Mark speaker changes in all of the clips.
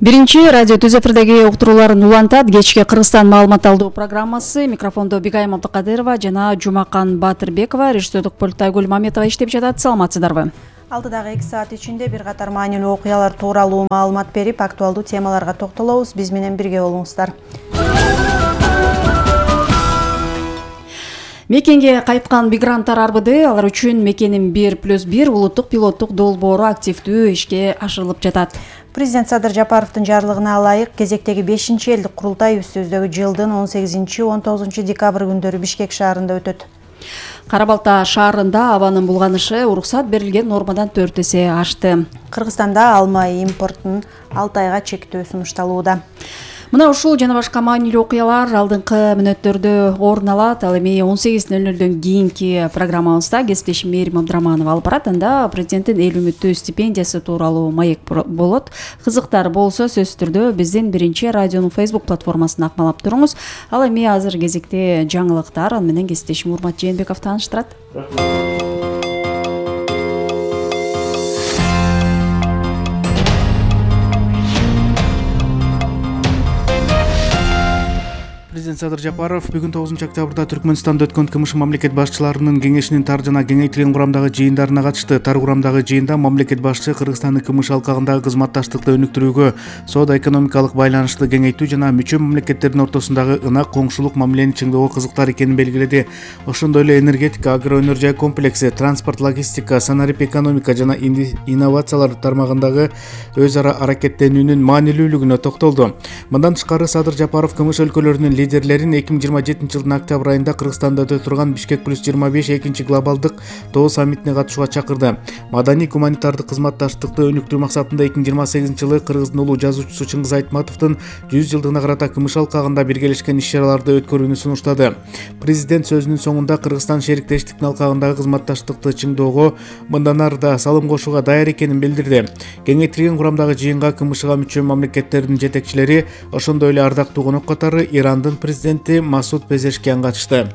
Speaker 1: Биринчи радио Түз эфирдеги уктурууларын улантат. Кечки Кыргызстан маалымат алуу программасы. Микрофондо Бигайым Абдыкадырова жана Жумакан Батырбекова, режиссердик пультта Айгүл Маметова иштеп жатат. Саламатсыздарбы?
Speaker 2: Алдыдагы 2 саат ичинде бир катар маанилүү окуялар тууралуу маалымат берип, актуалдуу темаларга токтолобуз. Биз менен бирге болуңуздар. Мекенге кайткан мигранттар арбыды. Алар үчүн мекенин 1+1 улуттук пилоттук долбоору активдүү ишке ашырылып жатат. Президент Садыр Жапаровдун жарлыгына ылайык кезектеги 5-чи элдик курултай үстүбүздөгү жылдын 18-19 декабрь күндөрү Бишкек шаарында өтөт. Кара-Балта шаарында абанын булганышы уруксат берилген нормадан 4 эсе ашты. Кыргызстанда алма импортунун 6 айга чектөө сунушталууда. Мына ушул жана башка маанилүү окуялар алдыңкы мүнөттөрдө орун алат. Ал эми 18:00 кийинки программабызда кесиптешим Мээрим Абдыраманова алып барат. Анда президенттин эл үмүттүү стипендиясы тууралуу маек болот. Кызыктар болсо сөзсүз түрдө биздин биринчи радионун Facebook платформасына акмалап туруңуз. Ал эми азыр кезекте жаңылыктар менен кесиптешим Урмат Жээнбеков тааныштырат.
Speaker 3: Президент Садыр Жапаров бүгүн 9 октябрда Түркмөнстанда өткөн КМШ мамлекет башчыларынын кеңешинин тар жана кеңейтилген курамдагы жыйындарына катышты. Тар курамдагы жыйында мамлекет башчы Кыргызстандын КМШ алкагындагы кызматташтыкты өнүктүрүүгө, соода-экономикалык байланышты кеңейтүү жана мүчө мамлекеттердин ортосундагы ынак коңшулук мамилени чыңдоого кызыктар экенин белгиледи. Ошондой эле энергетика, агроөнөр жай комплекси, транспорт, логистика, санарип экономика жана инновациялар тармагындагы өз ара аракеттенүүнүн маанилүүлүгүнө токтолду. Мындан тышкары Садыр Жапаров КМШ өлкөлөрүнүн лидерлерин 2027 жылдын октябрь айында Кыргызстанда өтө турган Бишкек +25 экинчи глобалдык тоо саммитине катышууга чакырды. Маданий гуманитардык кызматташтыкты өнүктүрүү максатында 2028 жылы Кыргыздын улуу жазуучусу Чыңгыз Айтматовдун 100 жылдыгына карата КМШ алкагында биргелешкен иш-чараларды өткөрүүнү сунуштады. Президент сөзүнүн соңунда Кыргызстан шериктештиктин алкагындагы кызматташтыкты чыңдоого мындан ары да салым кошууга даяр экенин билдирди. Кеңейтилген курамдагы жыйынга КМШга мүчө мамлекеттердин жетекчилери, ошондой эле ардактуу конок катары Ирандын президенти Масуд Пезешкиян катышты.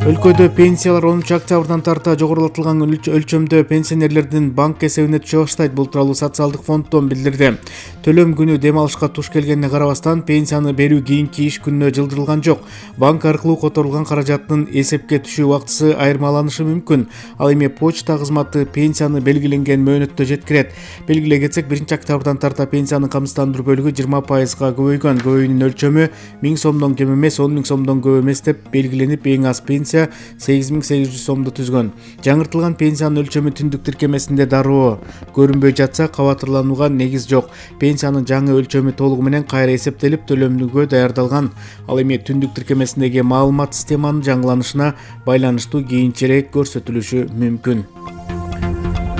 Speaker 3: Өлкөдө пенсиялар 10 октябрдан тарта жогорулатылган өлчөмдө пенсионерлердин банк эсебине түшө баштайт. Бул тууралуу социалдык фонддон билдирди. Төлөм күнү дем алышка туш келгенине карабастан пенсияны берүү кийинки иш күнүнө жылдырылган жок. Банк аркылуу которулган каражаттын эсепке түшүү убактысы айырмаланышы мүмкүн. Ал эми почта кызматы пенсияны белгиленген мөөнөттө жеткирет. Белгилей кетсек, 1 октябрдан тарта пенсиянын камсыздандыруу бөлүгү 20%га көбөйгөн. Көбөйүүнүн өлчөмү 1000 сомдон кем эмес, 10 000 сомдон көп эмес деп белгиленип, эң аз пенсия 8800 сомду түзгөн. Жаңыртылган пенсиянын өлчөмү түндүк тиркемесинде дароо көрүнбөй жатса, кабатырланууга негиз жок. Пенсиянын жаңы өлчөмү толугу менен кайра эсептелип, төлөмгө даярдалган. Ал эми түндүк тиркемесиндеги маалымат системанын жаңыланышына байланыштуу кийинчерээк көрсөтүлүшү мүмкүн.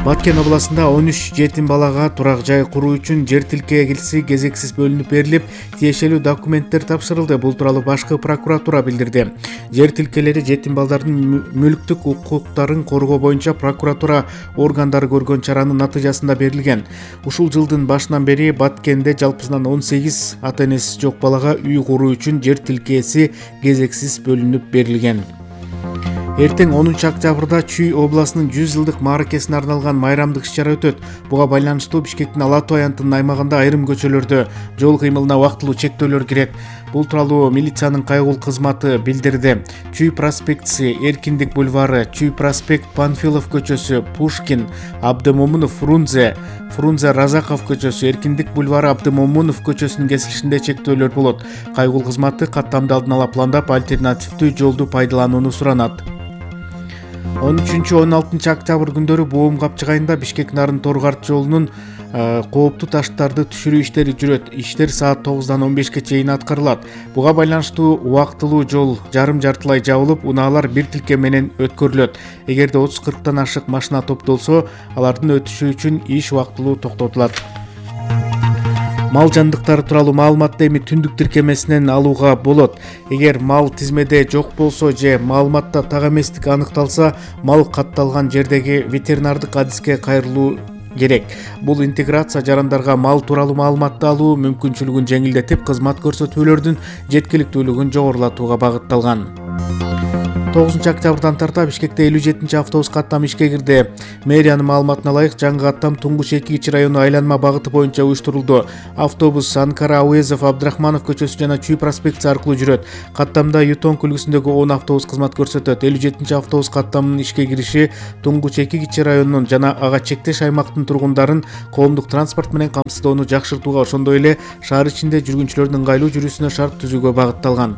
Speaker 3: Баткен областында 13 жетим балага турак жай куруу үчүн жер тилкеси кезексиз бөлүнүп берилип, тиешелүү документтер тапшырылды. Бул тууралуу башкы прокуратура билдирди. Жер тилкелери жетим балдардын мүлктүк укуктарын коргоо боюнча прокуратура органдары көргөн чаранын натыйжасында берилген. Ушул жылдын башынан бери Баткенде жалпысынан 18 ата-энеси жок балага үй куруу үчүн жер тилкеси кезексиз бөлүнүп берилген. Эртең 10 октябрда Чүй областынын 100 жылдык мааракесине арналган майрамдык иш-чара өтөт. Буга байланыштуу Бишкектин Ала Тоо аянтынын аймагында айрым көчөлөрдө жол кыймылына убактылуу чектөөлөр кирет. Бул тууралуу милициянын кайгыл кызматы билдирди. Чүй проспектиси, Эркиндик бульвары, Чүй проспект, Панфилов көчөсү, Пушкин, Абдымомунов, Фрунзе Разаков көчөсү, Эркиндик бульвары, Абдымомунов көчөсүнүн кесилишинде чектөөлөр болот. Кайгыл кызматы каттамды алдын ала пландап, альтернативдүү жолду пайдаланууну суранат. 13-16 октябрь күндөрү Боом Капчык айында Бишкек Нарын Торгарт жолунун кооптуу таштарды түшүрүү иштери жүрөт. Иштер саат 9-дан 15-ке чейин аткарылат. Буга байланыштуу убактылуу жол жарым-жартылай жабылып, унаалар бир тилке менен өткөрүлөт. Эгерде 30-40тан ашык машина топтолсо, алардын өтүшү үчүн иш убактылуу токтотулат. Мал жандыктары тууралуу маалыматты эми түндүк тиркемесинен алууга болот. Эгер мал тизмеде жок болсо же маалыматта так эместик аныкталса, мал катталган жердеги ветеринардык адиске кайрылуу керек. Бул интеграция жарандарга мал тууралуу маалыматты алуу мүмкүнчүлүгүн жеңилдетип, кызмат көрсөтүүлөрдүн жеткиликтүүлүгүн жогорулатууга багытталган. 9-октябрдан тарта Бишкекте 57 автобус каттам ишке кирди. Мэриянын маалыматына ылайык жаңы каттам Туңгуч 2 району айланма багыты боюнча уюштурулду. Автобус Анкара, Ауезов, Абдрахманов көчөсү жана Чүй проспекти аркылуу жүрөт. Каттамда Ютонг үлгүсүндөгү 10 автобус кызмат көрсөтөт. 57 автобус каттамынын ишке кириши Туңгуч 2 районунун жана ага чектеш аймактын тургундарын коомдук транспорт менен камсыздоону жакшыртууга, ошондой эле шаар ичинде жүргүнчүлөрдүн ыңгайлуу жүрүүсүнө шарт түзүүгө багытталган.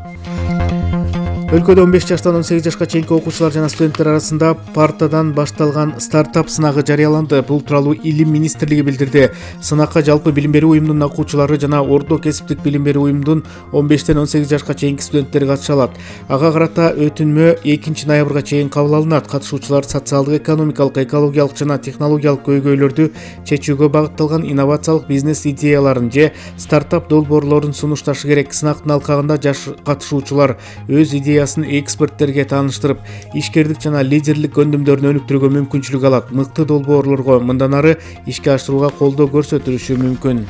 Speaker 3: Өлкөдө 15 жаштан 18 жашка чейинки окуучулар жана студенттер арасында партадан башталган стартап сынагы жарыяланды. Бул тууралуу Илим министрлиги билдирди. Сынакка жалпы билим берүү уюмунун окуучулары жана орто кесиптик билим берүү уюмунун 15-тен 18 жашка чейинки студенттери катыша алат. Ага карата өтүнмө 2 ноябрга чейин кабыл алынат. Катышуучулар социалдык, экономикалык, экологиялык жана технологиялык көйгөйлөрдү чечүүгө багытталган инновациялык бизнес идеяларын же стартап долбоорлорун сунушташы керек. Сынактын алкагында жаш катышуучулар өз идеясын эксперттерге тааныштырып, ишкердик жана лидерлик көндүмдөрүн өнүктүрүүгө мүмкүнчүлүк алат. Мыкты долбоорлорго мындан ары ишке ашырууга колдоо көрсөтүлүшү мүмкүн.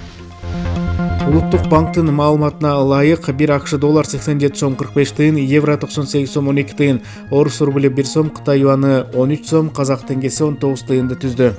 Speaker 3: Улуттук банктын маалыматына ылайык 1 АКШ доллар 87 сом 45 тыйын, евро 98 сом 12 тыйын, орус рубль 1 сом, Кытай юаны 13 сом, казак теңгеси 19 тыйынды түздү.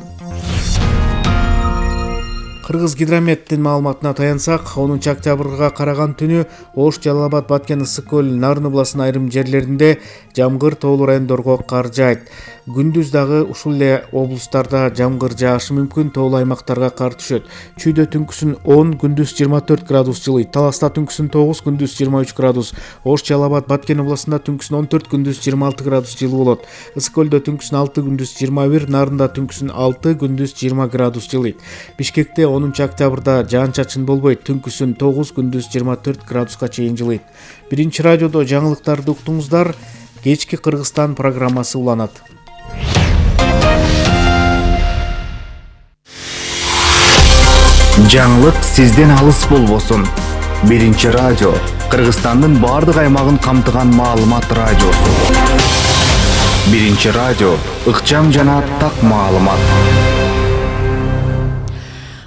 Speaker 3: Кыргыз гидрометтин маалыматына таянсак, 10 октябрга караган түнү Ош, Жалал Абад, Баткен, Ысык көл, Нарын областынын айрым жерлеринде жамгыр, тоолуу райондорго кар жаайт. Күндүз дагы ушул эле облустарда жамгыр жаашы мүмкүн, тоолуу аймактарга кар түшөт. Чүйдө түнкүсүн 10, күндүз 24 градус жылыйт. Таласта түнкүсүн 9, күндүз 23 градус. Ош, Жалал Абад, Баткен областында түнкүсүн 14, күндүз 26 градус жылуу болот. Ысык көлдө түнкүсүн 6, күндүз 21, Нарында түнкүсүн 6, күндүз 20 градус жылыйт. Бишкекте 10 октябрда жаан-чачын болбойт, түнкүсүн 9, күндүз 24 градуска чейин жылыйт. Биринчи радиодо жаңылыктарды уктуңуздар. Кечки Кыргызстан программасы уланат.
Speaker 4: Жаңылык сизден алыс болбосун. Биринчи радио Кыргызстандын бардык аймагын камтыган маалымат радиосу. Биринчи радио ыкчам жана так маалымат.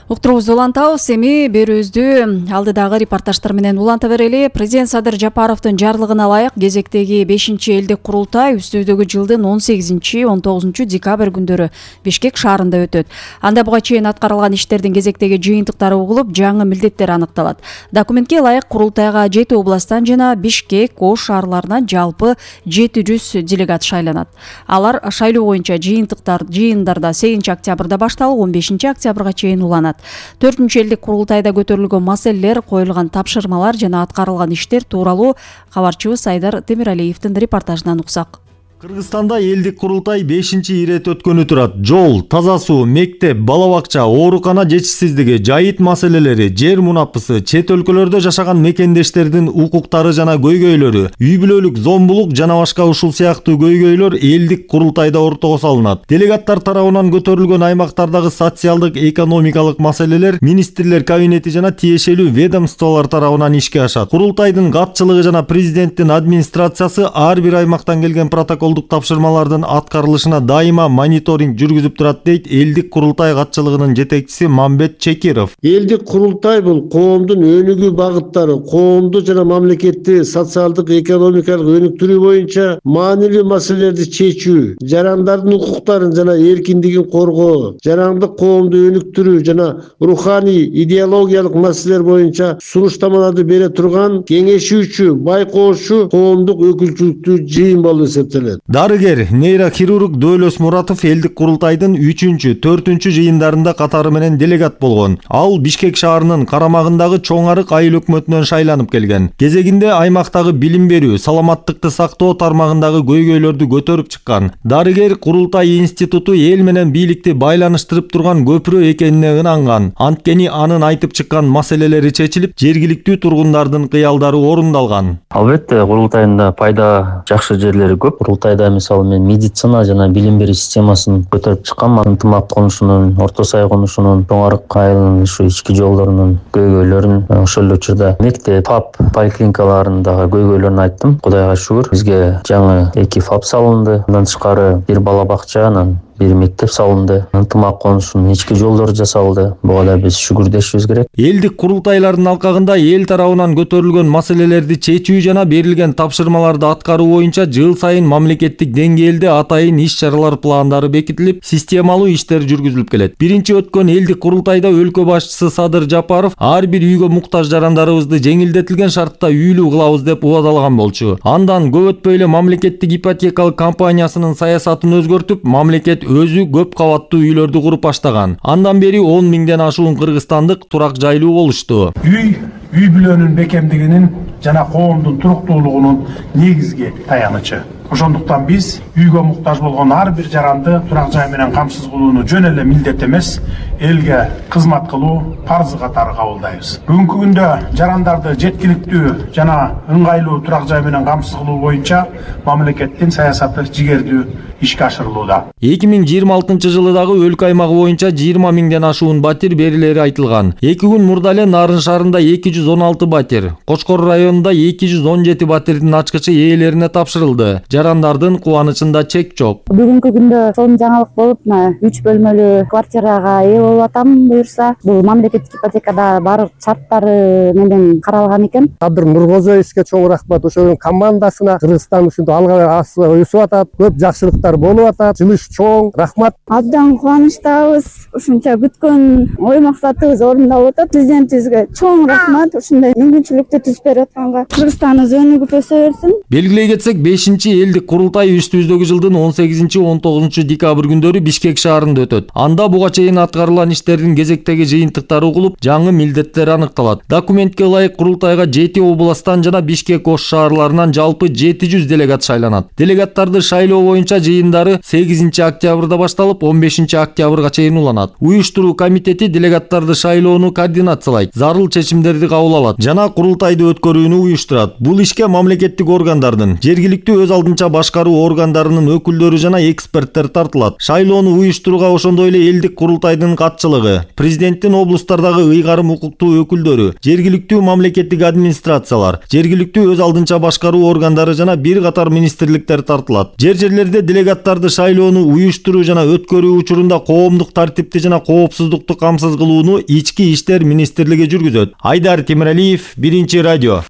Speaker 1: Уктуруубузду улантабыз, эми берүүбүздү алдыдагы репортаждар менен уланта берели. Президент Садыр Жапаровдун жарлыгына ылайык кезектеги 5-элдик курултай үстүбүздөгү жылдын 18-19 декабрь күндөрү Бишкек шаарында өтөт. Анда буга чейин аткарылган иштердин кезектеги жыйынтыктары угулуп, жаңы милдеттер аныкталат. Документке ылайык курултайга 7 областтан жана Бишкек, Ош шаарларынан жалпы 700 делегат шайланат. Алар шайлоо боюнча жыйындарда 8 октябрда башталып, 15 октябрга чейин уланат. 4-элдик курултайда көтөрүлгөн маселелер, коюлган тапшырмалар жана аткарылган иштер тууралуу кабарчыбыз Айдар Темиралиевдин репортажынан уксак.
Speaker 5: Кыргызстанда элдик курултай 5-ирет өткөнү турат. Жол, таза суу, мектеп, бала бакча, оорукана жетишсиздиги, жайыт маселелери, жер мунапысы, чет өлкөлөрдө жашаган мекендештердин укуктары жана көйгөйлөрү, үй бүлөлүк зомбулук жана башка ушул сыяктуу көйгөйлөр элдик курултайда ортого салынат. Делегаттар тарабынан көтөрүлгөн аймактардагы социалдык, экономикалык маселелер министрлер кабинети жана тиешелүү ведомстволор тарабынан ишке ашат. Курултайдын катчылыгы жана президенттин администрациясы ар бир аймактан келген протокол тапшырмалардын аткарылышына дайыма мониторинг жүргүзүп турат, дейт элдик курултай катчылыгынын жетекчиси Мамбет Чекиров.
Speaker 6: Элдик курултай бул коомдун өнүгүү багыттары, коомду жана мамлекетти социалдык, экономикалык өнүктүрүү боюнча маанилүү маселелерди чечүү, жарандардын укуктарын жана эркиндигин коргоо, жарандык коомду өнүктүрүү жана руханий, идеологиялык маселелер боюнча сунуштамаларды бере турган кеңешүүчү, байкоочу коомдук өкүлчүлүктүү жыйын болуп эсептелет.
Speaker 5: Дарыгер, нейрохирург Дөөлөс Муратов элдик курултайдын 3-4 жыйындарында катары менен делегат болгон. Ал Бишкек шаарынын карамагындагы Чоң Арык айыл өкмөтүнөн шайланып келген. Кезегинде аймактагы билим берүү, саламаттыкты сактоо тармагындагы көйгөйлөрдү көтөрүп чыккан. Дарыгер курултай институту эл менен бийликти байланыштырып турган көпүрө экенине ынанган. Анткени анын айтып чыккан маселелери чечилип, жергиликтүү тургундардын кыялдары орундалган.
Speaker 7: Албетте, курултайында пайда жакшы жерлери көп. Курултайда мисалы мен медицина жана билим берүү системасын көтөрүп чыккан, ынтымак конушунун, орто сай конушунун, Чоң Арык айылынын ушу ички жолдорунун көйгөйлөрүн, ошол эле учурда мектеп, ФАП поликлиникаларындагы көйгөйлөрүн айттым. Кудайга шүгүр, бизге жаңы 2 ФАП салынды. Андан тышкары бир бала бакча, анан бир мектеп салынды, ынтымак конушунун ички жолдору жасалды. Буга да биз шүгүрдөшүбүз керек.
Speaker 5: Элдик курултайлардын алкагында эл тарабынан көтөрүлгөн маселелерди чечүү жана берилген тапшырмаларды аткаруу боюнча жыл сайын мамлекеттик деңгээлде атайын иш-чаралар пландары бекитилип, системалуу иштер жүргүзүлүп келет. Биринчи өткөн элдик курултайда өлкө башчысы Садыр Жапаров ар бир үйгө муктаж жарандарыбызды жеңилдетилген шартта үйлүү кылабыз деп убадалаган болчу. Андан көп өтпөй эле мамлекеттик ипотекалык компаниясынын саясатын өзгөртүп, мамлекет өзү көп кабаттуу үйлөрдү куруп баштаган. Андан бери 10 миңден ашуун кыргызстандык турак жайлуу болушту.
Speaker 8: Үй бүлөнүн бекемдигинин жана коомдун туруктуулугунун негизги таянычы. Ошондуктан биз үйгө муктаж болгон ар бир жаранды турак жай менен камсыз кылууну жөн эле милдет эмес, элге кызмат кылуу парзы катары кабылдайбыз. Бүгүнкү күндө жарандарды жеткиликтүү жана ыңгайлуу турак жай менен камсыз кылуу боюнча мамлекеттин саясаты жигердүү ишке ашырылууда.
Speaker 5: 2026 жылы дагы өлкө аймагы боюнча 20 миңден ашуун батир берилери айтылган. 2 күн мурда эле Нарын шаарында 216 батир, Кочкор районунда 217 батирдин ачкычы ээлерине тапшырылды. Жарандардын кубанычында чек жок.
Speaker 9: Бүгүнкү күндө сонун жаңылык болуп, 3 бөлмөлүү квартирага ээ болуп атам буюрса. Бул мамлекеттик ипотекада баардык шарттары менен каралган экен.
Speaker 6: Кадыр Нургозоевичке чоң рахмат, ошонун командасына. Кыргызстан ушинтип алга өсүп атат, көп жакшылыктар болуп атат. Жылыш чоң, рахмат.
Speaker 9: Абдан кубанычтабыз. Ушунча күткөн ой максатыбыз орундалып атат. Президентибизге чоң рахмат. Ушундай мүмкүнчүлүктү түзүп берип атканга. Кыргызстандын өнүгүп өсө берсин.
Speaker 5: Белгилей кетсек, 5-чи элдик курултай үстүбүздөгү жылдын 18-19 декабрь күндөрү Бишкек шаарында өтөт. Анда буга чейин аткарылган иштердин кезектеги жыйынтыктары угулуп, жаңы милдеттер аныкталат. Документке ылайык курултайга 7 областтан жана Бишкек ош шаарларынан жалпы 700 делегат шайланат. Делегаттарды шайлоо боюнча жыйындары 8 октябрда башталып, 15 октябрга чейин уланат. Уюштуруу комитети делегаттарды шайлоону координациялайт, зарыл чечимдерди кабыл алат жана курултайды өткөрүүнү уюштурат. Бул ишке мамлекеттик органдардын, жергиликтүү өз алдынча башкаруу органдарынын өкүлдөрү жана эксперттер тартылат. Шайлоону уюштурууга ошондой эле элдик курултайдын катчылыгы, президенттин облустардагы ыйгарым укуктуу өкүлдөрү, жергиликтүү мамлекеттик администрациялар, жергиликтүү өз алдынча башкаруу органдары жана бир катар министрликтер тартылат. Жерлерде делегаттарды шайлоону уюштуруу жана өткөрүү учурунда коомдук тартипти жана коопсуздукту камсыз кылууну ички иштер министрлиги жүргүзөт. Айдар Темиралиев, Биринчи радио.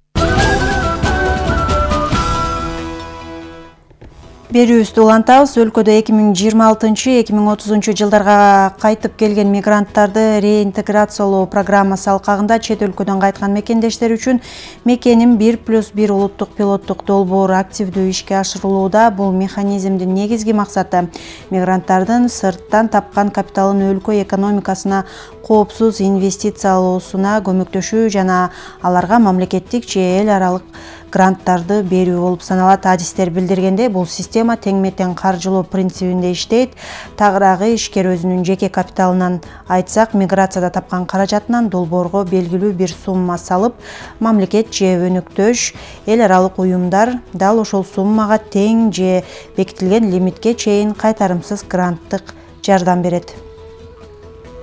Speaker 2: Берүүбүздү улантабыз. Өлкөдө 2026-2030 жылдарга кайтып келген мигранттарды реинтеграциялоо программасы алкагында чет өлкөдөн кайткан мекендештер үчүн мекеним 1+1 улуттук пилоттук долбоору активдүү ишке ашырылууда. Бул механизмдин негизги максаты мигранттардын сырттан тапкан капиталын өлкө экономикасына коопсуз инвестициялоосуна көмөктөшүү жана аларга мамлекеттик же эл аралык гранттарды берүү болуп саналат. Адистер билдиргенде, бул система тең-метең каржылоо принцибинде иштейт. Тагыраагы ишкер өзүнүн жеке капиталынан, айтсак, миграцияда тапкан каражатынан долбоорго белгилүү бир сумма салып, мамлекет же өнөктөш эл аралык уюмдар дал ошол суммага тең же бекитилген лимитке чейин кайтарымсыз гранттык жардам берет.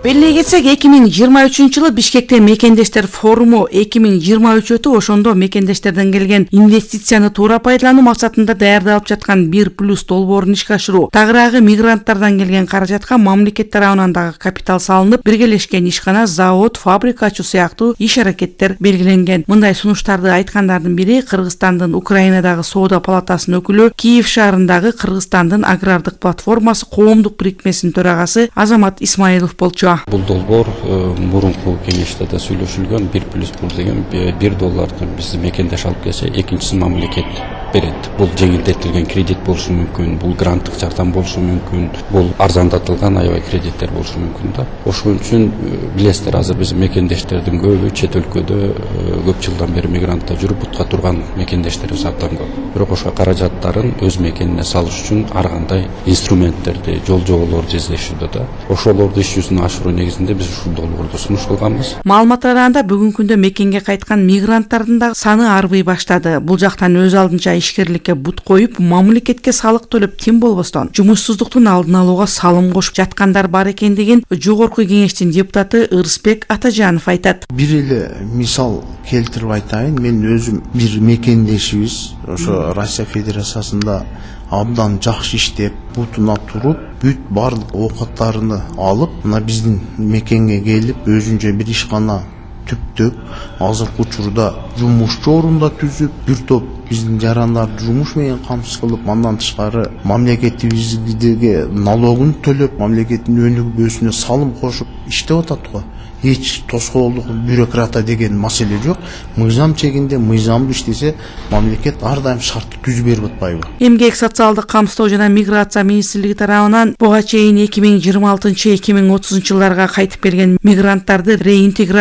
Speaker 10: Белгилей кетсек, 2023 жылы Бишкекте мекендештер форуму 2023 өтүп, ошондо мекендештерден келген инвестицияны туура пайдалануу максатында даярдалып жаткан 1+ долбоорун ишке ашыруу, тагыраагы мигранттардан келген каражатка мамлекет тарабынан дагы капитал салынып, биргелешкен ишкана, завод, фабрика ачуу сыяктуу иш-аракеттер белгиленген. Мындай сунуштарды айткандардын бири Кыргызстандын Украинадагы соода палатасынын өкүлү, Киев шаарындагы Кыргызстандын агрардык платформасы коомдук бирикмесинин төрагасы Азамат Исмаилов болчу.
Speaker 11: Бул долбоор мурунку кеңеште да сүйлөшүлгөн. 1+1 деген $1 биз мекендеш алып келсе, экинчисин мамлекет берет. Бул жеңилдетилген кредит болушу мүмкүн, бул гранттык жардам болушу мүмкүн, бул арзандатылган аябай кредиттер болушу мүмкүн да. Ошон үчүн билесиздер, азыр биз мекендештердин көбү чет өлкөдө көп жылдан бери мигрантта жүрүп бутка турган мекендештерибиз абдан көп. Бирок ошо каражаттарын өз мекенине салыш үчүн ар кандай инструменттерди, жол жоболорду издешүүдө да. Ошолорду иш жүзүнө ашыруу негизинде биз ушул долбоорду сунуш кылганбыз.
Speaker 10: Маалымат караганда, бүгүнкү күндө мекенге кайткан мигранттардын да саны арбый баштады. Бул жактан өз алдынча ишкерликке бут коюп, мамлекетке салык төлөп тим болбостон жумуссуздуктун алдын алууга салым кошуп жаткандар бар экендигин жогорку кеңештин депутаты Ырысбек Атажанов айтат.
Speaker 12: Бир эле мисал келтирип айтайын. Мен өзүм бир мекендешибиз ошо Россия Федерациясында абдан жакшы иштеп, бутуна туруп, бүт барлык оокаттарыны алып, мына биздин мекенге келип, өзүнчө бир ишкана түптөп, азыркы учурда жумушчу орунда түзүп, бир топ биздин жарандарды жумуш менен камсыз кылып, андан тышкары мамлекетибизге налогун төлөп, мамлекеттин өнүгүүсүнө салым кошуп иштеп атат го. Эч тоскоолдук, бюрократа деген маселе жок. Мыйзам чегинде, мыйзамдуу иштесе, мамлекет ар дайым шартты түзүп берип атпайбы?
Speaker 10: Эмгек, социалдык камсыздоо жана миграция министрлиги тарабынан буга чейин 2026-2030 жылдарга кайтып келген мигранттарды реинтеграция